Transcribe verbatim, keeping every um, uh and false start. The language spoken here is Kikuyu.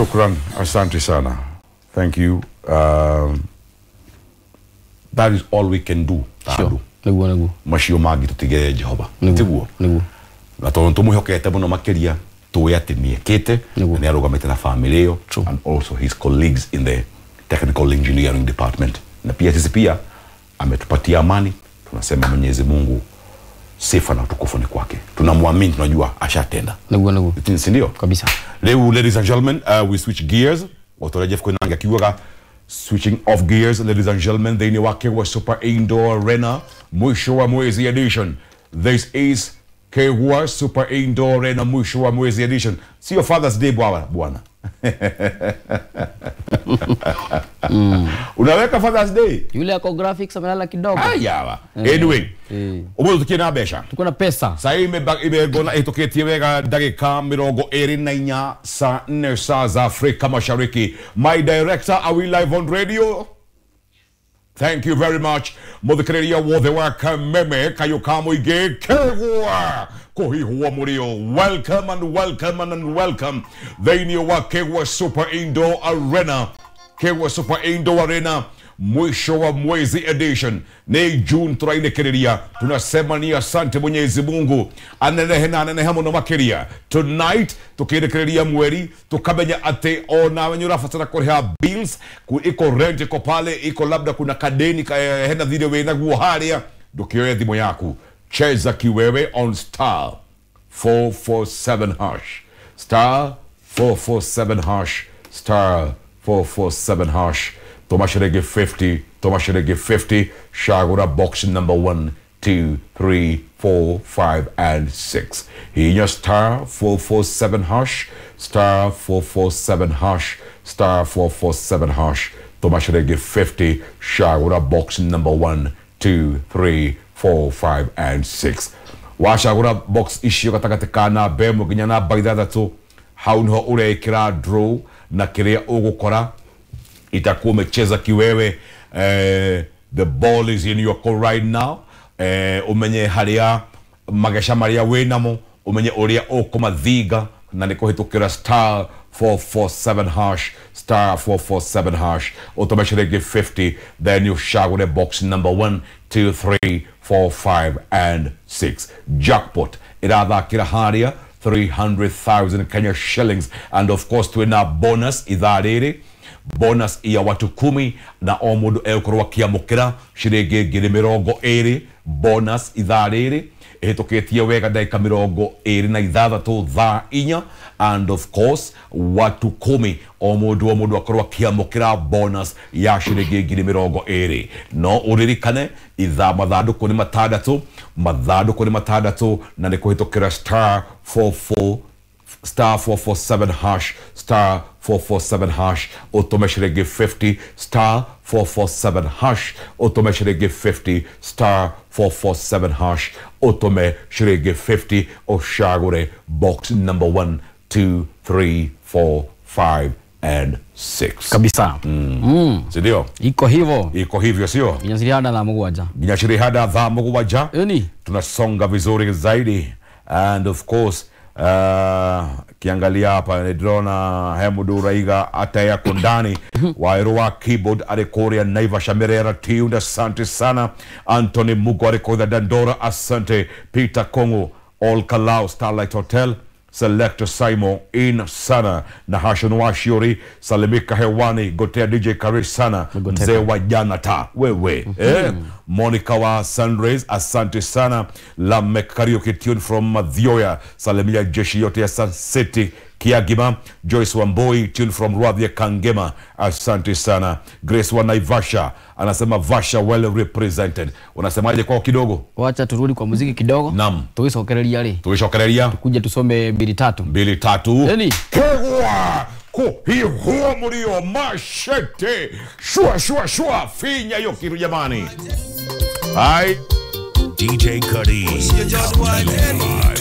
Shukran, asante sana. Thank you. Um, that is all we can do. Sure. Niguo niguo. Macio mangi tutigere Jehova. Tiguo. Niguo. Na tondu tumuhokete muno makiria tuwe ati niekite na niarugamite na family iyo and also his colleagues in the technical engineering department. Na pia sisi pia ametupatia amani, tunasema Mwenyezi Mungu sifa na utukufu ni kwake. Tunamwamini, tunajua ashatenda. Niguo niguo. Si ndio? Kabisa. Leo, ladies and gentlemen, uh, we switch gears. Otora Jeff Koinange akiugaga switching off gears, ladies and gentlemen, thĩinĩ wa Kegwa Super Indoor Arena mwisho wa mwezi edition. This is Kegwa Super Indoor Arena mwisho wa mwezi edition. Sio Father's Day bwana bwana. Mm. Unaweka Father's Day? Yule ako graphics amelala kidogo. Ayawa. Anyway, umuthi tukiĩ na mbeca. Tuko na pesa. Saa hii imegona itukitie wega ndagika mirongo ĩrĩ na inya saa nne saa za Afrika Mashariki. My director, are we live on radio? Thank you very much. Muthikiriria wothe wa Kameme Kayuka Muingĩ Kegwa Kuhihwo Murio. Welcome and welcome and welcome thĩinĩ wa Kegwa Super Indoor Arena. Kegwa Super Indoor Arena mwisho wa mwezi edition. Ni June turainĩkĩrĩria. Tunasema ni asante Mwenyezi Mungu anenehe na anenehe mũno makĩria. Tonight tukĩrĩkĩrĩria mweri tukamenya atĩ ona wenye ũrabatara kũrĩha bills, iko rent iko pale, iko labda kuna kadeni hena thirĩ wĩnaguo harĩa, ndũkĩoye thimũ yaku, cheza kiwewe on star four four seven hash, star four four seven hash, star four four seven hash. Toma shilingi fifty, toma shilingi fifty, shagura box number one, two, three, four, five, and six. Hinya star four four seven hash, star four four seven hash, star four four seven hash. Toma shilingi fifty, shagura box number one, two, three, four, five, and six. Washagura box icio gatagatĩ ka namba ĩmwe nginya namba ithathatũ, hau niho ũrekĩra draw na kĩrĩa ũgũkora itakuwa umecheza kiwewe. Eh, the ball is in your court right now. Eh, umenye haria magesha maria winamo, umenye uria ukumathiga na nĩ kũhĩtũkĩra star four four seven hash, star four four seven hash, ũtũme ciringi fifty, then you shagure box number one, two, three, four, five, and six. Jackpot irathakĩra haria three hundred thousand Kenya shillings, and of course twina bonus ithaa rĩrĩ, bonus ya watu kumi na o mũndũ egũkorwo akĩamũkĩra ciringi ngiri mĩrongo ĩrĩ. Bonus ithaa rĩrĩ ĩhĩtũkĩtie wega ndagĩka mĩrongo ĩrĩ na ithathatũ thaa inya, and of course watu kumi o mũndũ o mũndũ akorwo akĩamũkĩra bonus ya ciringi ngiri mĩrongo ĩrĩ. No ũririkane ithaa mathandũkũ nĩ matandatũ, mathandũkũ nĩ matandatũ na nĩ kũhĩtũkĩra star four four star four four seven hash, star four four seven hash, ũtũme ciringi fifty, star four four seven hash, ũtũme ciringi fifty, star four four seven hash, ũtũme ciringi fifty, ũcagũre box number one, two, three, four, five, and six. Kabisa. Mm. Mm. Si ndio? Iko hivyo. Iko hivyo sio? Nginya cirihanda thaa mũgwanja. Nginya cirihanda thaa mũgwanja. Ĩni. Tunasonga vizuri zaidi, and of course Uh, kiangalia hapa ndirona he mundu raiga ataya kundani Wairu wa keyboard ari kuria Naivasha Merera Tiunda, asante sana. Anthony Mugo ari kuria Dandora, asante. Peter Kongo All Kalau Starlight Hotel, Selector Simon in sana na Hashon Washiori, salimika hewani, gotea D J Kari sana, mzee wa jana ta wewe. Mm -hmm. Eh, Monica wa Sunrays, asante sana. Lamek Karaoke tune from Madhioya, salimia jeshi yote ya Sun City Kiagima. Joyce Wamboi tune from Rwadhia Kangema, asante sana. Grace wa Naivasha anasema Vasha well represented. Unasemaje kwao kidogo? Wacha turudi kwa muziki kidogo. Naam. Tuisokereria ri. Tuisokereria. Tukuje tusome mbili tatu. Mbili tatu. Eni. Kegwa kuhihwo murio mashete. Shua shua shua finya hiyo kitu jamani. Ai D J Cuddy. Live.